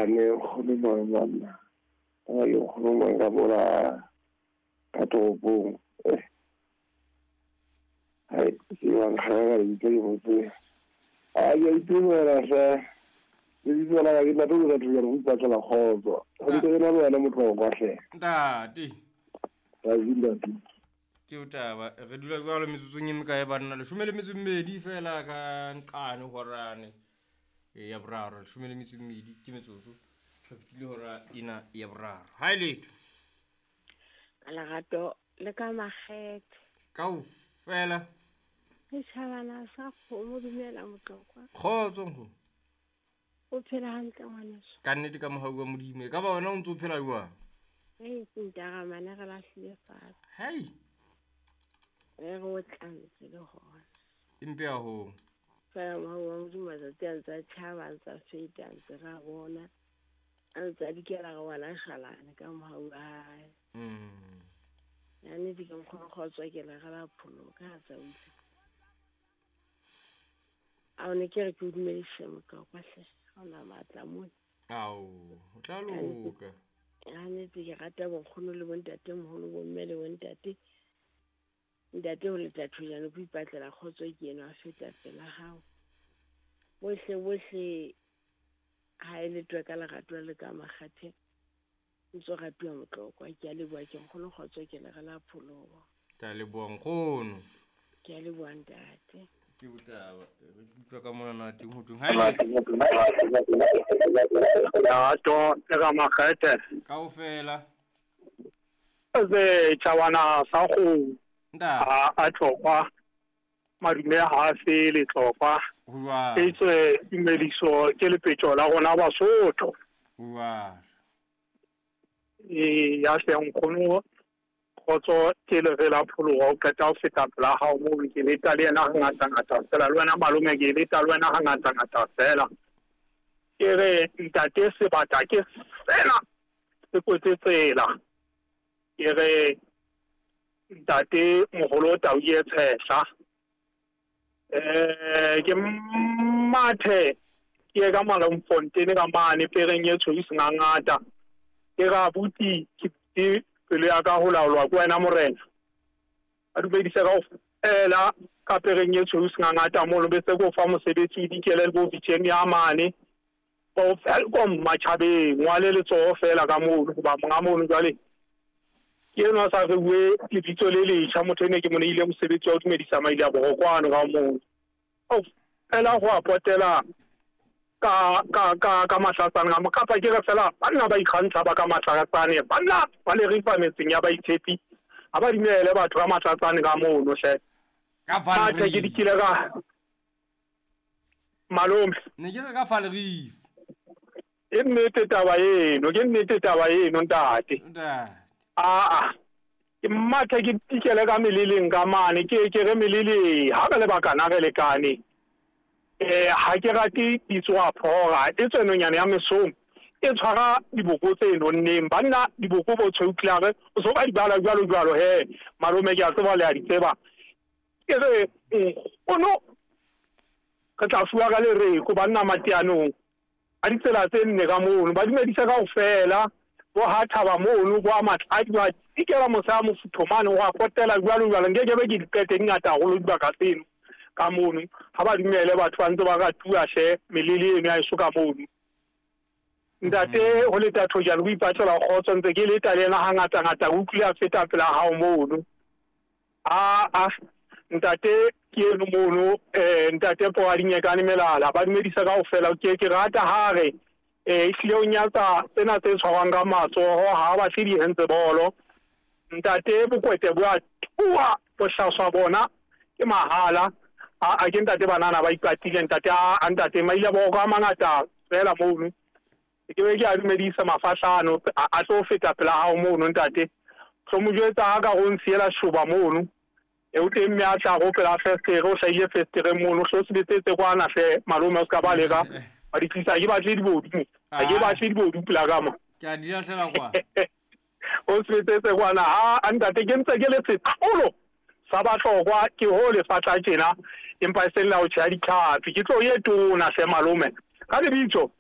Mane nkgono mang banna. Ka ke nkgono mang ka mola ka toropong. Eh. Hai, ke wa nkgana ka lebitso ke mo tsebe. A ke a itumela hle. Lebitso la ka ke ntate o batho jalo go ipatlela kgotso. Go ntse ke na le wena motlokwa hle. Ntate. Ntate ntate. Ke taba re dula jalo metsotsong e mekae banna 12 fela ka nqane horane ya boraro 12 ke metsotso re fetile hora ena ya boraro. Ha e letho. Ka lerato le ka makgethe. Kaofela. Setjhabana sa kgomo dumela Motlokwa. Kgotso nkgono. O phela hantle ngwaneso. Ka nnete ka mohau wa Modimo. E ka ba wena o ntse o phela jwang? Hei, ntaramane re lahlile fatshe. Hei. Re re o tlantse le hona. Empe haholo. Fela mohau wa Modimo matsatsi a ntse a tjhaba, a ntse a feta, a ntse re a bona. A ntse a dikela re wala shalane ka mohau wa hae. Ya nnete ke nkgono kgotso ke le re la pholoka ha tsa utlwa. A o ne ke re ke o dumedise Motlokwa hle. Ha ona matla mona. Ao, o tla loka. Ya nnete ke rata bonkgono le bontate moholo, bomme le bontate. Ntate ho leta thojane ko ipatlela kgotso ke eno a feta pela hao. Bohle bohle ha e letwe ka lerato le ka makgathe. Ntso ratuwa Motlokwa ke a leboha ke nkgono kgotso ke le re la pholoho. Ke a leboha nkgono. Ke a leboha ntate. Ke botaba re utlwa ka mona na teng ho thweng. Ha e le Lerato le ka makgethe. Kaofela. Setjhabana sa kgomo. Ntate. A tlokwa. Madume ha a fele tlokwa. Ho jwalo. Etswe tumediso ke lepetjo la rona Basotho. Ho jwalo. E ya hle nkgono kgotso ke le re la pholoha o qeta ho feta pela hao moo ke leta le yena hangata ngata fela le wena malome ke leta le wena hangata ngata fela. Ke re ntate sebata ke sena se kwetse tsela. Ke re ntate moholo tau e tshehla. Ke mathe ke ka Malomfontein ka mane pereng e tshweu sengangata. Ke ra abuti ke pelo ya ka ho laolwa ke wena morena. A dumedise kaofela ka pereng e tshweu sengangata mono be se ko fa mosebetsi o dikele le bo vitjeng ya mane. Bo Welkom matjhabeng ngwale letsoho fela ka mono hoba monga mono jwale ke enwa sa re bue lebitso le letjha motho ene ke mo neile mosebetsi wa ho dumedisa maile a borokwano ka mono. Fela go a potela ka ka ka ka mahlatsane ka kapa ke re fela banna ba ikgantsha ba ka mahlatsane banna ba le rifa metseng ya baitshepi ha ba dumele batho ka mahlatsane ka mono hle. Ka Atjhe, ke Valerie. dikile ka malome. Ne ke re ka Valerie. Ke nnete taba eno, ke nnete taba eno ntate. Ntate. Aa. Ke mathe ke tikele ka meleleng ka mane ke ke re melele ha re le bakana re lekane. Ha ke rate ditsoa phora e tswenonyana ya mesong e tshwara diboko tse nonneng banna diboko bo tshweu klare o so ba di bala jwalo jwalo he malome ke a tseba le a di tseba. Ke re nkgono re tla fuwa ka lereko banna mateanong a ditsela tse nne ka mono ba dumedisa kaofela bo ha thaba mono bo a matladi ba tikela mosa mofutho mane go a potela jwalo jwalo nke ke be ke diqete di ngata haholo dibaka tseno ka mono ha ba dumele batho ba ntse ba ratuwa hle melele eno ya eso ka mono. Ntate ho leta thojane ho ipatlela kgotso ntse ke leta le yena hangata ngata o utlwile a feta pela hao mono. A ntate ke eno mono ntate Poadinyekane melala ba dumedisa kaofela ke ke rata ha re ehlile o nyatsa tsena tse tshwarwang ka matsoho ha ba batle di-hands bolo. Ntate bokwete bo a tua bohlaswa bona ke mahala. A ke ntate banana ba ipatile ntate a ntate maile boko a mangata fela mono. Ke be ke a dumedisa mafahlano a tlo feta pela hao mono ntate. Tlo mo jwetsa ha ka go nsiela shoba mono. E o teng mme a tla go pela festere o hlahile festere mono hlo se betsetse kwana hle malome o ska ba leka. Ba di tlisa ke batle dibodu. Ha ke batle dibodu pela ka mo. Ke a di lahlela kwa. O se betsetse kwana ha ntate ke ntse ke le setlolo sa bahlokwa ke ho lefatla tjena empa e seng la ho tjheha ditlhapi ke tlo ye tona hle malome. Ka lebitso